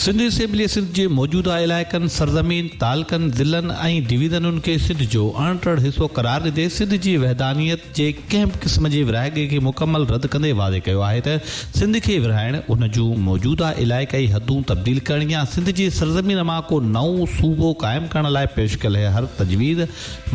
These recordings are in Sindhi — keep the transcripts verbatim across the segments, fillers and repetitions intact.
سنڌ اسيمبلي سنڌ جي موجوده علائقن، سرزمين، تعلقن، ضلعن ۽ ڊويزنن کي سنڌ جو اڻٽر حصو قرار ڏيندي سنڌ جي وحدانيت جي ڪنهن به قسم جي ورهاڱي کي مڪمل رد ڪندي واضح ڪيو آهي ته سنڌ کي ورهائڻ، ان جون موجوده علائقائي حدون تبديل ڪرڻ يا سنڌ جي سرزمين مان ڪو نئون صوبو قائم ڪرڻ لاء پيش ڪيل هر تجويز،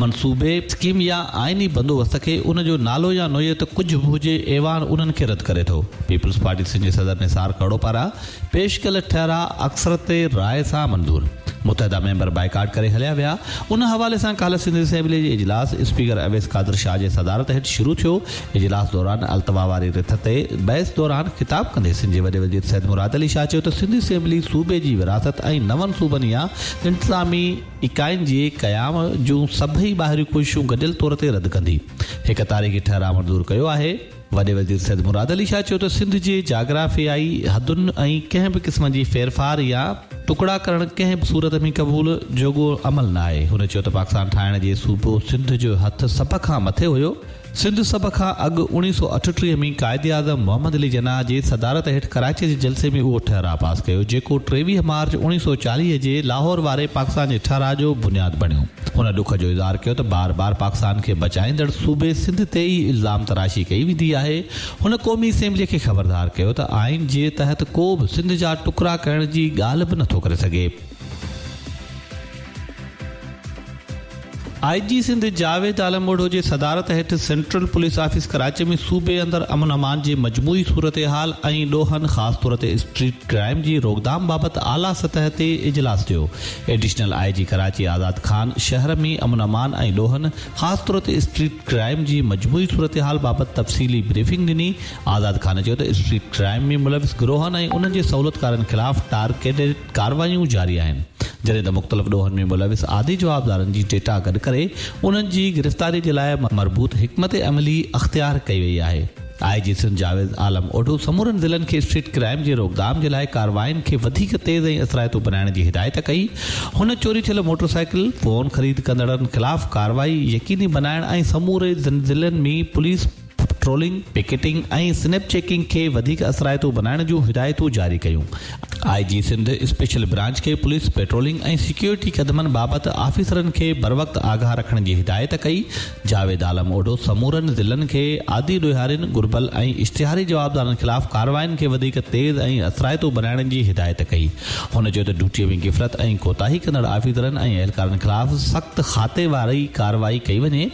منصوبي، اسڪيم يا آئيني بندوبست کي ان جو نالو يا نوعيت ڪجهه به هجي، ايوان انهن کي رد ڪري ٿو. پيپلز پارٽي سنڌ جي صدر نثار کهڙو پاران پيش ڪيل ٺهراء اڪثريت راءِ سان منظور. متحده ميمبر بائيڪاٽ ڪري هليا ويا. ان حوالي سان ڪالهه سنڌ اسيمبلي جي اجلاس اسپيڪر اويس قادر شاهه جي صدارت هيٺ شروع ٿيو. اجلاس دوران التوا واري رٿ تي بحث دوران خطاب ڪندي سنڌ جي وڏي وزير سيد مراد علي شاهه چيو ته سنڌ اسيمبلي صوبي جي ورهاست ۽ نون صوبن يا انتظامي اڪائين جي قيام جون سڀئي ٻاهريون ڪوششون گڏيل طور تي رد ڪندي هڪ تاريخي ٺهراء منظور ڪيو آهي. وڏي وزير سيد مراد علي شاهه چيو ته سنڌ جي جاگرافيائي حدن ۽ ڪنهن به قسم جي ڦيرڦار يا ٽڪڙا ڪرڻ ڪنهن به صورت ۾ قبول جوڳو عمل نه آهي. هن چيو ته پاڪستان ٺاهڻ جي صوبو سنڌ جو هٿ سڀ کان مٿي هيو. سنڌ سڀ کان اڳ اڻويهه سؤ اٺٽيهه ۾ قائد اعظم محمد علي جناح جي صدارت هيٺ ڪراچي جي جلسي ۾ اهو ٺهراء پاس ڪيو، جيڪو ٽيويهه مارچ اڻويهه سؤ چاليهه جي لاهور واري پاڪستان جي ٺهراء جو بنياد بڻيو. هن ڏک جو اظهار ڪيو ته بار بار پاڪستان کي بچائيندڙ صوبي سنڌ تي ئي الزام تراشي ڪئي ويندي آهي. هن قومي اسيمبلي کي خبردار ڪيو ته آئين جي تحت ڪو به سنڌ جا ٽڪرا ڪرڻ جي ڳالهه به نٿو ڪري سگهي. آء جي سنڌ جاويد عالم اوڍو جي صدارت هيٺ سينٽرل پوليس آفيس ڪراچي ۾ صوبي اندر امن امان جي مجموعي صورتحال ۽ ڏوهن خاص طور تي اسٽريٽ ڪرائم جي روڪٿام بابت اعليٰ سطح تي اجلاس ٿيو. ايڊيشنل I جي ڪراچي آزاد خان شهر ۾ امن امان ۽ ڏوهن خاص طور تي اسٽريٽ ڪرائم جي مجموعي صورتحال بابت تفصيلي بريفنگ ڏني. آزاد خان چيو ته اسٽريٽ ڪرائم ۾ ملوث گروهن ۽ انهن جي سهولتڪارن خلاف ٽارگيٽڊ ڪارروايون جاري آهن، جڏهن ته مختلف ڏوهن ۾ ملوث عادي جوابدارن جي ڊيٽا گڏ ڪري انهن جي گرفتاري جي لاء مربوط حڪمت عملي اختيار ڪئي وئي آهي. آء جي سنڌ جاويد عالم اوڍو سمورن ضلعن کي اسٽريٽ ڪرائم جي روڪٿام جي لاء ڪاررواين کي وڌيڪ تيز ۽ اثرائتو بنائڻ جي هدايت ڪئي. هن چوري ٿيل موٽرسائيڪل، فون خريد ڪندڙن خلاف ڪارروائي يقيني بنائڻ ۽ سموري ضلعن ۾ police patrolling, picketing ۽ snap checking کي وڌيڪ اثرائتو بنائڻ جون هدايتون جاري ڪيون. آء جي سنڌ اسپيشل برانچ کي پوليس پيٽرولنگ ۽ سيڪيورٽي قدمن بابت آفيسرن کي بروقت آگاهه رکڻ جي هدايت ڪئي. جاويد عالم اوڍو سمورن ضلعن کي عادي ڏوهارين، گهربل ۽ اشتهاري جوابدارن خلاف ڪاررواين کي وڌيڪ تيز ۽ اثرائتو بنائڻ جي هدايت ڪئي. هن چيو ته ڊيوٽي ۾ غفلت ۽ ڪوتاهي ڪندڙ آفيسرن ۽ اهلڪارن خلاف سخت کاتي واري ڪارروائي ڪئي وڃي.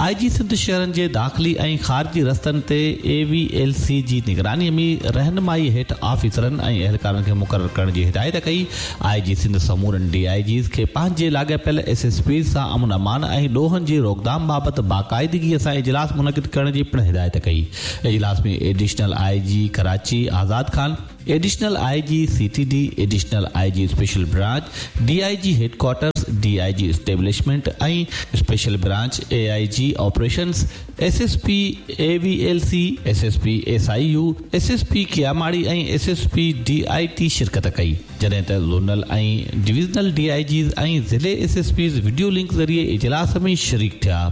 آء جي سنڌ شهرن جي داخلي ۽ خارجي رستن تي اي وي ايل سي جي نگراني ۾ رهنمائي هيٺ آفيسرن ۽ اهلڪارن کي مقرر ڪرڻ جي هدايت ڪئي. آء جي سنڌ سمورن ڊي I Gs کي پنهنجي لاڳاپيل ايس ايس پيز سان امن امان ۽ ڏوهن جي روڪٿام بابت باقاعدگي سان اجلاس منعقد ڪرڻ جي پڻ هدايت ڪئي. اجلاس ۾ ايڊيشنل I جي ڪراچي آزاد خان، ايڊيشنل I جي C T D, additional I G special branch, D I G headquarters, D I G establishment ۽ special branch, A I G operations, S S P A V L C, S S P S I U, S S P Keamari ۽ S S P D I ٽي شرڪت ڪئي، جڏهن ته zonal ۽ divisional D I Gs ۽ ضلعي S S Ps video link ذريعي اجلاس ۾ شريڪ ٿيا.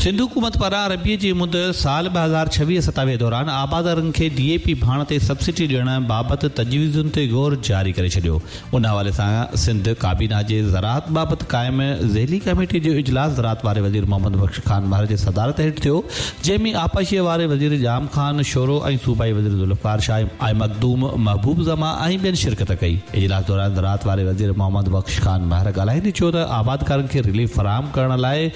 سنڌ حڪومت پاران ربيع جي مد سال ٻه هزار ڇويهه ستاويهه دوران آبادگارن کي ڊي اي پي ڀاڻ تي سبسڊي ڏيڻ بابت تجويزن تي غور جاري ڪري ڇڏيو. ان حوالي سان سنڌ ڪابينا جي زراعت بابت قائم ذيلي ڪميٽي جو اجلاس زراعت واري وزير محمد بخش خان مهر جي صدارت هيٺ ٿيو، جنهن ۾ آبپاشي واري وزير ڄام خان شورو ۽ صوبائي وزير ذوالفقار شاهه ۽ مخدوم محبوب زمان ۽ ٻين شرڪت ڪئي. اجلاس دوران زراعت واري وزير محمد بخش خان مهر ڳالهائيندي چيو ته آبادگارن کي رليف فراهم ڪرڻ لاء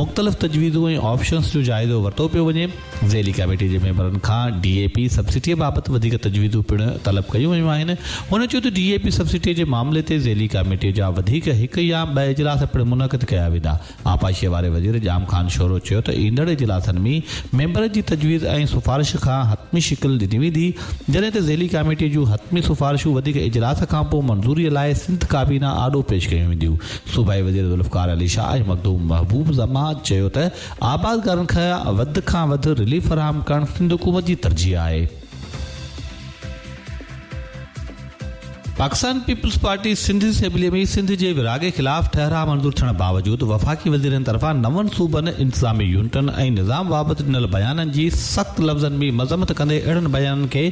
مختلف تجويزون ۽ آپشنز جو جائزو ورتو پيو وڃي. ذيلي ڪميٽي جي ميمبرن کان ڊي اي پي سبسڊي بابت وڌيڪ تجويزون پڻ طلب ڪيون ويون آهن. هن چيو ته ڊي اي پي سبسڊي جي معاملي تي ذيلي ڪميٽي جا وڌيڪ هڪ يا ٻه اجلاس پڻ منعقد ڪيا ويندا. آبپاشي واري وزير ڄام خان شورو چيو ته ايندڙ اجلاسن ۾ ميمبرن جي تجويز ۽ سفارش کان حتمي شڪل ڏني ويندي، جڏهن ته ذيلي ڪميٽي جون حتمي سفارشون وڌيڪ اجلاس کانپوء منظوري لاء سنڌ ڪابينا آڏو پيش ڪيون وينديون. صوبائي وزير ذوالفقار علي شاهه ۽ مخدوم محبوب زمان چيو ته آبادگارن کي وڌ کان وڌ رليف فراهم ڪرڻ سنڌ حڪومت جي ترجيح آهي. Pakistan peoples party Sindh assembly ۾ Sindh جي ورهاڱي خلاف ٺهراء منظور ٿيڻ باوجود وفاقي وزيرن طرفان نون صوبن، انتظامي يونٽن ۽ نظام بابت ڏنل بيانن جي سخت لفظن ۾ مذمت ڪندي اهڙن بيانن کي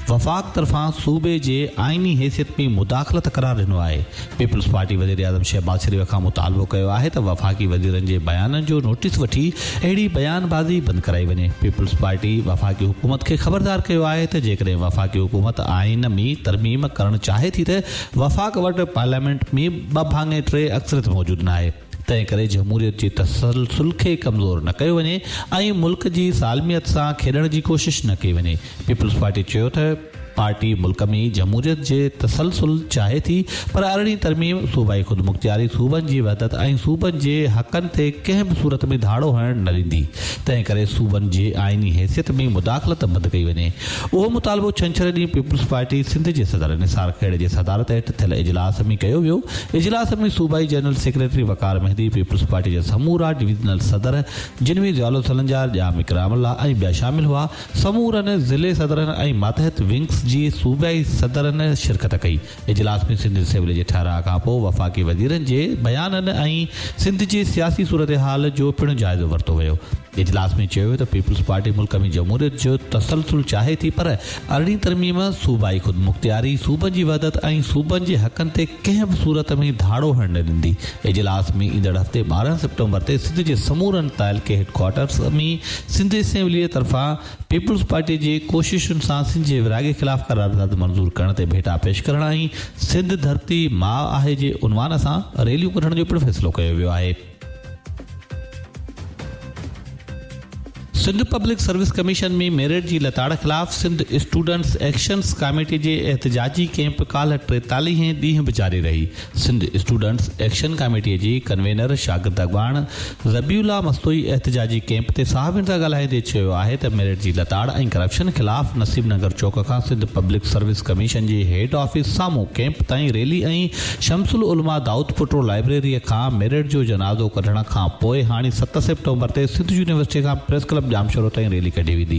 وفاق طرفان صوبي جي آئيني حيثيت ۾ مداخلت قرار ڏنو آهي. پيپلز پارٽي وزيراعظم شهباز شريف کان مطالبو ڪيو آهي ته وفاقي وزيرن جي بيانن جو نوٽيس وٺي اهڙي بيان بازي بند ڪرائي وڃي. پيپلز پارٽي وفاقي حڪومت کي خبردار ڪيو آهي ته جيڪڏهن وفاقي حڪومت آئين ۾ ترميم ڪرڻ چاهي ٿي ته وفاق وٽ پارليامينٽ ۾ ٻه ڀاڱي ٽي اڪثريت موجود ناهي، تنهن ڪري جمهوريت جي تسلسل کي ڪمزور نه ڪيو وڃي ۽ ملڪ جي سالميت سان کيڏڻ جي ڪوشش نه ڪئي وڃي. پيپلز پارٽي چيو ته پارٽي ملڪ ۾ جمهوريت جي تسلسل چاهي ٿي پر ارڙهين ترميم صوبائي خودمختياري، صوبن جي وحدت ۽ صوبن جي حقن تي ڪنهن به صورت ۾ ڌاڙو هڻڻ نه ڏيندي، تنهن ڪري صوبن جي آئيني حيثيت ۾ مداخلت بند ڪئي وڃي. اهو مطالبو ڇنڇر ڏينهن پيپلز پارٽي سنڌ جي صدر نثار کهڙي جي صدارت هيٺ ٿيل اجلاس ۾ ڪيو ويو. اجلاس ۾ صوبائي general secretary Waqar Mehdi, peoples party جا سمورا ڊويزنل صدر جن ۾ ضياء سلنجار، ڄام اڪرام الله ۽ ٻيا شامل هئا، سمورن ضلعي صدرن ۽ ماتحت ونگس جي صوبائي صدرن شرڪت ڪئي. اجلاس ۾ سنڌ اسيمبلي جي ٺهراء کانپوء وفاقي وزيرن جي بيانن ۽ سنڌ جي سياسي صورتحال جو پڻ جائزو ورتو ويو. اجلاس ۾ چيو ويو ته پيپلز پارٽي ملڪ ۾ جمهوريت جو تسلسل چاهي ٿي پر ارڙهين ترميم صوبائي خودمختياري، صوبن جي وحدت ۽ صوبن جي حقن تي ڪنهن به صورت ۾ ڌاڙو هڻڻ نه ڏيندي. اجلاس ۾ ايندڙ هفتي ٻارهن سيپٽمبر تي سنڌ جي سمورن تعلقي هيڊڪوارٽرز ۾ سنڌ اسيمبليء طرفان پيپلز پارٽي جي ڪوششن سان سنڌ جي ورهاڱي خلاف قرارداد منظور ڪرڻ تي ڀيٽا پيش ڪرڻ ۽ سنڌ ڌرتي ماء آهي جي عنوان سان ريليون ڪڍڻ جو پڻ فيصلو ڪيو ويو آهي. Sindh public service commission ۾ merit جي لتاڙ خلاف سنڌ اسٽوڊنٽس ايڪشنس ڪاميٽي جي احتجاجي ڪئمپ ڪالهه ٽيتاليهين ڏينهن به جاري رهي. سنڌ اسٽوڊنٽس ايڪشن ڪاميٽي جي ڪنوينر شاگرد اڳواڻ ذبيح الله مستوئي احتجاجي ڪئمپ تي صحافين سان ڳالهائيندي چيو آهي ته ميرٽ جي لتاڙ ۽ ڪرپشن خلاف نصيب نگر چوڪ کان سنڌ پبلڪ سروس ڪميشن جي هيڊ آفيس سامهون ڪئمپ تائين ريلي ۽ شمس العلماء دائود پٽو لائبريري کان ميرٽ جو جنازو ڪڍڻ کان پوء هاڻي ست سيپٽمبر تي سنڌ يونيورسٽي کان پريس ڪلب ڄامشورو تائين ريلي ڪڍي ويندي.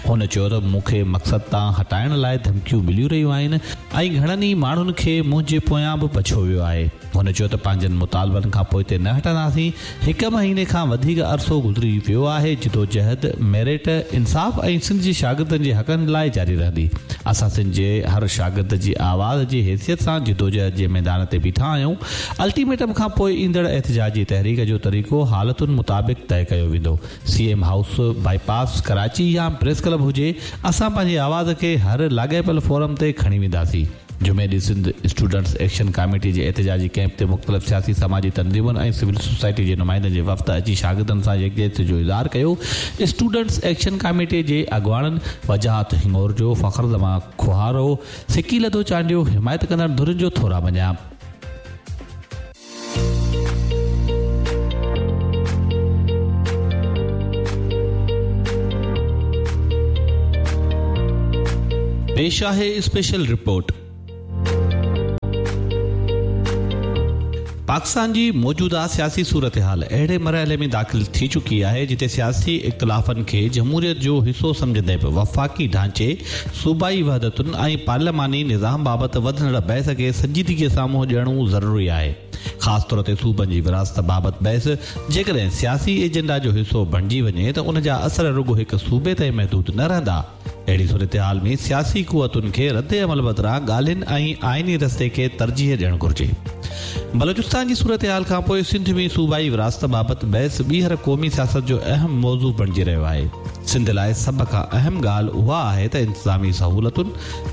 هن چيو ته مون کي مقصد تان هٽائڻ لاء ڌمڪيون مليون رهيون آهن ۽ گهڻن ئي ماڻهن کي منهنجي پويان به پڇيو ويو آهي. هن چيو ته پنهنجن مطالبن کان پوئتي نه هٽنداسين، هڪ مهيني کان وڌيڪ عرصو گذري ويو آهي، جدوجهد ميرٽ، انصاف ۽ سنڌ جي شاگردن جي حقن لاء جاري رهندي. اسان سنڌ جي هر شاگرد جي آواز جي حيثيت سان جدوجهد جي ميدان تي بيٺا آهيون، الٽيميٽم کان پوء ايندڙ احتجاجي تحريڪ جو طريقو حالتن مطابق طئي ڪيو ويندو. C M house, bypass, Karachi يا پريس ڪلب هجي، اسان پنهنجي آواز کي هر لاڳاپيل فورم تي کڻي وينداسين. جمعي ڏينهن سنڌ اسٽوڊنٽس ايڪشن ڪاميٽي جي احتجاجي ڪئمپ تي مختلف سياسي سماجي تنظيمن ۽ سول سوسائٽي جي نمائندن جي وفد اچي شاگردن سان يڪجهتي جو اظهار ڪيو. اسٽوڊنٽس ايڪشن ڪاميٽي جي اڳواڻن وجاهت هڱورجو، فخر زمان کوهارو، سڪيلڌو چانڊيو حمايت ڪندڙ ڌرين جو ٿورا مڃيا. پيش آهي اسپيشل رپورٽ. پاڪستان جي موجوده سياسي صورتحال اهڙي مرحلي ۾ داخل ٿي چڪي آهي جتي سياسي اختلافن کي جمهوريت جو حصو سمجهندي به وفاقي ڍانچي، صوبائي وحدتن ۽ پارلياماني نظام بابت وڌندڙ بحث کي سنجيدگي سان منهن ڏيڻو ضروري آهي. خاص طور تي صوبن جي ورهاست بابت بحث جيڪڏهن سياسي ايجنڊا جو حصو بڻجي وڃي ته ان جا اثر رڳو هڪ صوبي تائين محدود نه رهندا. اهڙي صورتحال ۾ سياسي قوتن کي رد عمل بدران ڳالهين ۽ آئيني رستي کي ترجيح ڏيڻ گهرجي. بلوچستان جي صورتحال کانپوء سنڌ ۾ صوبائي ورهاست بابت بحث ٻيهر قومي سياست جو اهم موضوع بڻجي رهيو آهي. سنڌ لاء سڀ کان اهم ڳالهه اها آهي ته انتظامي سهولتن،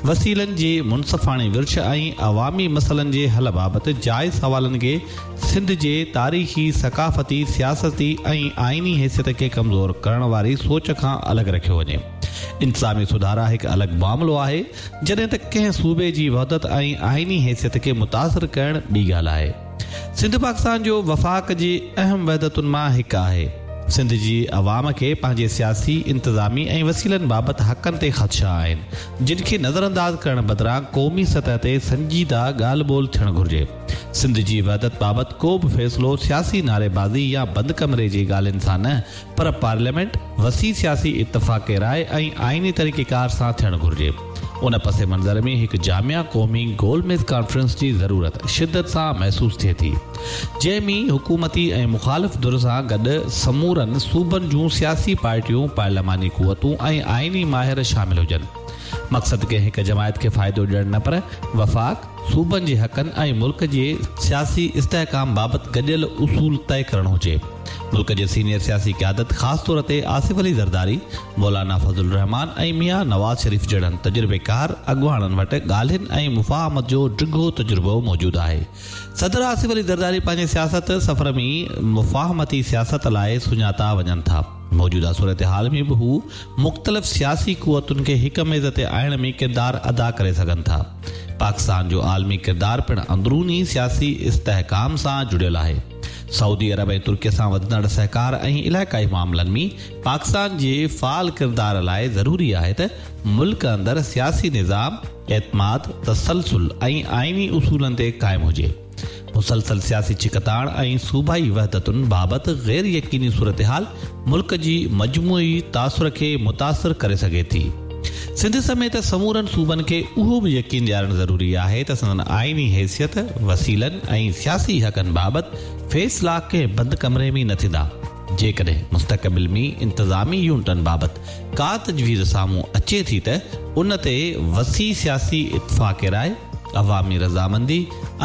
وسيلن جي منصفاڻي ورڇ ۽ عوامي مسئلن جي حل بابت جائز سوالن کي سنڌ جي تاريخي، ثقافتي، سياستي ۽ آئيني حيثيت کي ڪمزور ڪرڻ واري سوچ کان الڳ رکيو وڃي. انتظامي سڌارا هڪ الڳ معاملو آهي، جڏهن ته ڪنهن صوبي جي وحدت ۽ آئيني حيثيت کي متاثر ڪرڻ ٻي ڳالهه آهي. سنڌ پاڪستان جو وفاق جي اهم وحدتن مان هڪ آهي. سنڌ جي عوام کي پنهنجي سياسي، انتظامي ۽ وسيلن بابت حقن تي خدشا آهن، جن کي نظرانداز ڪرڻ بدران قومي سطح تي سنجيده ڳالهه ٻولهه ٿيڻ گهرجي. سنڌ جي وحدت بابت ڪو به فيصلو سياسي نعريبازي يا بند ڪمري جي ڳالهين سان نه پر پارليامينٽ، وسيع سياسي اتفاق راء ۽ آئيني طريقيڪار سان ٿيڻ گهرجي. ان پس منظر ۾ هڪ جامع قومي گول ميز ڪانفرنس جي ضرورت شدت سان محسوس ٿئي ٿي، جنهن ۾ حڪومتي ۽ مخالف ڌر سان گڏ سمورن صوبن جون سياسي پارٽيون، پارلياماني قوتون ۽ آئيني ماهر شامل هجن. مقصد ڪنهن هڪ جماعت کي فائدو ڏيڻ نه پر وفاق، صوبن جي حقن ۽ ملڪ جي سياسي استحڪام بابت گڏيل اصول طئي ڪرڻ هجي. ملڪ جي سينيئر سياسي قيادت خاص طور تي آصف علي زرداري، مولانا فضل الرحمان ۽ ميان نواز شريف جهڙن تجربيڪار اڳواڻن وٽ ڳالهين ۽ مفاهمت جو ڊگهو تجربو موجود آهي. صدر آصف علي زرداري پنهنجي سياست سفر ۾ مفاهمتي سياست لاء سڃاتا وڃن ٿا. موجوده صورتحال ۾ به هو مختلف سياسي قوتن کي هڪ ميز تي آڻڻ ۾ ڪردار ادا ڪري سگهن ٿا. پاڪستان جو عالمي ڪردار پڻ اندروني سياسي استحڪام سان جڙيل آهي. سعودي عرب ۽ ترڪي سان وڌندڙ سهڪار ۽ علائقائي معاملن ۾ پاڪستان جي فعال ڪردار لاءِ ضروري آهي ته ملڪ اندر سياسي نظام اعتماد، تسلسل ۽ آئيني اصولن تي قائم هجي. مسلسل سياسي ڇڪتاڻ ۽ صوبائي وحدتن بابت غير يقيني صورتحال ملڪ جي مجموعي تاثر کي متاثر ڪري سگهي ٿي. سنڌ سميت سمورن صوبن کي اهو به يقين ڏيارڻ ضروري آهي ته سندن آئيني حيثيت، وسيلن ۽ سياسي حقن بابت فيصلا ڪنهن بند ڪمري ۾ نه ٿيندا. جيڪڏهن مستقبل ۾ انتظامي يونٽن بابت ڪا تجويز سامهون اچي ٿي ته ان تي وسيع سياسي اتفاق راءِ، عوامي رضامندي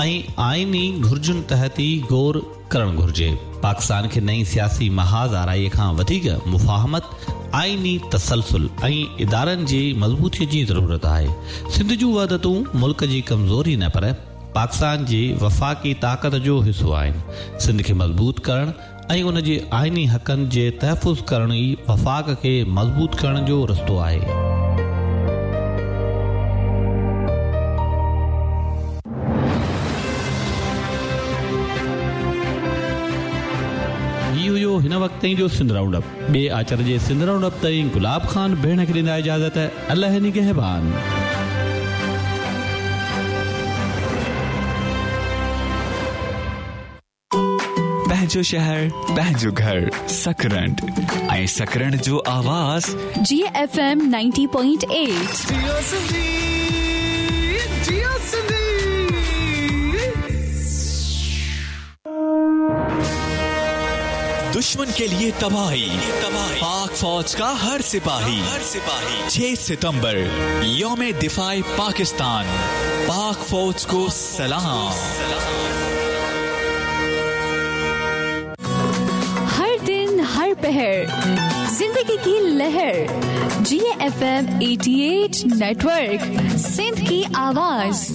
۽ آئيني گهرجن تحت ئي غور ڪرڻ گهرجي. پاڪستان کي نئين سياسي محاذ آرائي کان وڌيڪ مفاهمت، آئيني تسلسل ۽ ادارن جي مضبوطي جي ضرورت آهي. سنڌ جون وحدتون ملڪ جي ڪمزوري نه پر پاڪستان جي وفاقي طاقت جو حصو آهن. سنڌ کي مضبوط ڪرڻ ۽ ان جي آئيني حقن جي تحفظ ڪرڻ ئي وفاق کي مضبوط ڪرڻ جو رستو آهي. هن وقت تائين جو سنڌ رائونڊ اپ. ٻئي آچر جي سنڌ رائونڊ اپ تائين گلاب خان ڀيڻ کي ڏيندا اجازت. الله نگهبان. پنهنجو شهر، پنهنجو گهر، سڪرنڊ ۽ سڪرنڊ جو آواز جي F M ninety point eight. جيئو سنڌي، جيئو سنڌي. दुश्मन के लिए तबाही, पाक फौज का हर सिपाही। हर सिपाही छह सितंबर यौम दिफाए पाकिस्तान, पाक फौज को सलाम। हर दिन हर पहर जिंदगी की लहर, जी एफ एम अठासी नेटवर्क, सिंध की आवाज।